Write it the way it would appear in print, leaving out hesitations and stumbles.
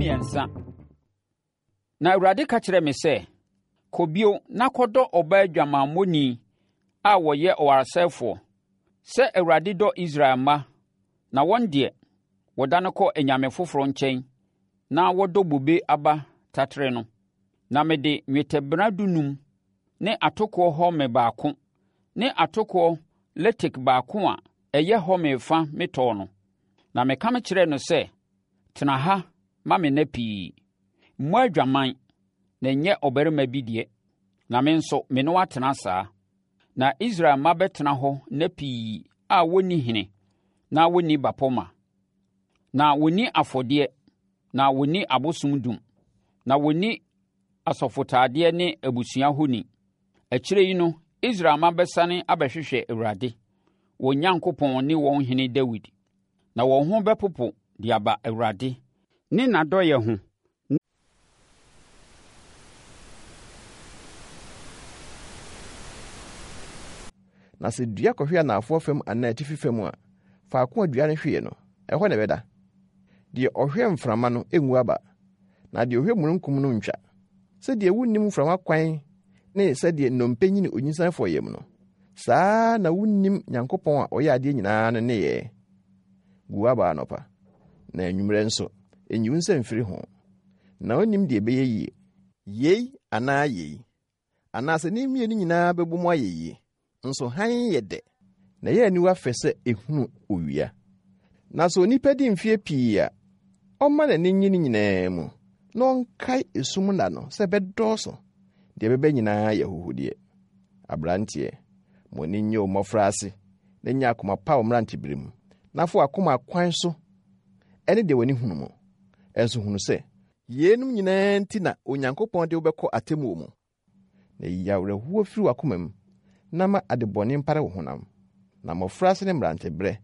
13. Na Awurade ka kyerɛɛ me sɛ, Kɔ bio na kɔdɔ ɔbaa dwamammɔni a ɔyɛ ɔwaresɛefoɔ, sɛ Awurade dɔ Israel mma, na wɔn deɛ, wɔdane kɔ anyame foforɔ nkyɛn na wɔdɔ bobe aba taterɛ no. Na mede nnwetɛbena dunum ne atokoɔ homer baako ne atokoɔ letik baako a ɛyɛ homer fa metɔɔ no. Na meka mekyerɛɛ no sɛ, Tena ha ma me nna pii. Mmɔ adwaman, na nyɛ ɔbarima bi deɛ, na me nso me ne wo atena saa. Na Israel mma bɛtena hɔ nna pii a wɔnni hene na wɔnni bapɔmma, na wɔnni afɔdeɛ na wɔnni abosom dum, na wɔnni asɔfotaadeɛ ne abusua honi. Akyire yi no, Israel mma bɛsane abɛhwehwɛ Awurade, wɔn Nyankopɔn ne wɔn hene Dawid. Na wɔn ho bɛpopo de aba Awurade ne n'adɔeɛ ho. Na sɛ dua kɔhwe anaafoɔ fam anaa atifi fam a, faako a dua no hweeɛ no, ɛhɔ na ɛbɛda. Deɛ ɔhwɛ mframa no ngu aba, na deɛ ɔhwɛ mununkum no ntwa. Sɛdeɛ wonnim mframa kwan ne sɛdeɛ nnompe nyini onyinsɛnfoɔ yam no, saa ara na wonnim Nyankopɔn a ɔyɛ adeɛ nyinaa no nneyɛɛ. Gu w'aba anɔpa, na anwummerɛ nso, nyi wo nsa mfiri ho, na wonnim deɛ ɛbɛyɛ yie. Yei anaa yei, anaasɛ ne mmienu nyinaa bɛbɔ mu ayɛ yie. Nso hann yɛ dɛ, na ɛyɛ aniwa fɛ sɛ ehunu owia. Na sɛ onipa di mfeɛ pii a, ɔmma n'ani nnye ne nyinaa mu, na ɔnkae esum nna no sɛ ɛbɛdɔɔso. Deɛ ɛbɛba nyinaa yɛ ahuhudeɛ. Aberanteɛ, ma w'ani nnye wo mmɔfraase, na nya akoma pa wo mmeranteberɛ mu, na fa w'akoma kwan so ne deɛ w'ani hunu mu. Nso hunu sɛ, yeinom nyinaa nti na Onyankopɔn de wo bɛkɔ atemmuo mu. Na yi awerɛhoɔ firi w'akoma mu, na ma adebɔne mpare wo honam. Na mmɔfraase ne mmeranteberɛ